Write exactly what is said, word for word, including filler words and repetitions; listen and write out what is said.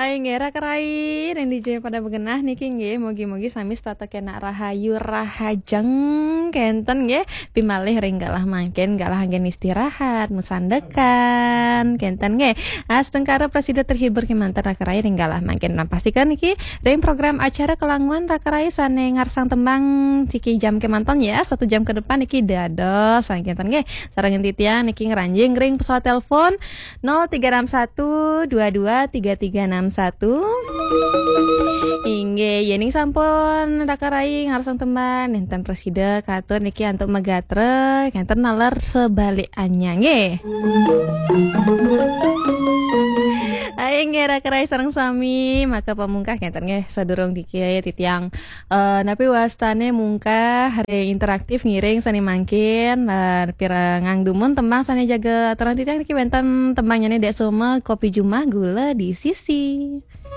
Inggih, raka rai, ring dija pada magenah niki nggih, mugi-mugi sami setata kena rahayu rahajeng kenten nggih, pimalih ring galah mangkin, galah anggen istirahat, masandekan kenten nggih. Astungkara prasida terhibur kemanten raka rai ring galah mangkin. Nah, pastikan niki ring program acara Kelanguan raka rai sane ngarsang tembang siki jam kemanten ya, satu jam ke depan niki dados kenten nggih. Sareng titiang niki ngranjing ring pesawat telepon nol tiga enam satu dua dua tiga tiga enam satu. Inggih, yening sampun raka rai ngarsang tembang, nenten prasida katur niki antuk magatra, kenten naler sebaliknya nggih. Ayo nggih raka rai sareng sami, maka pamungkah kenten nggih sadurung niki titiang eh, napi wastane mungkah ring interaktif ngiring sane mangkin, lan pirengang dumun tembang sane jaga aturan titiang niki wenten tembangnyane Dek Soma, Kopi Jumah Gula di Sisi.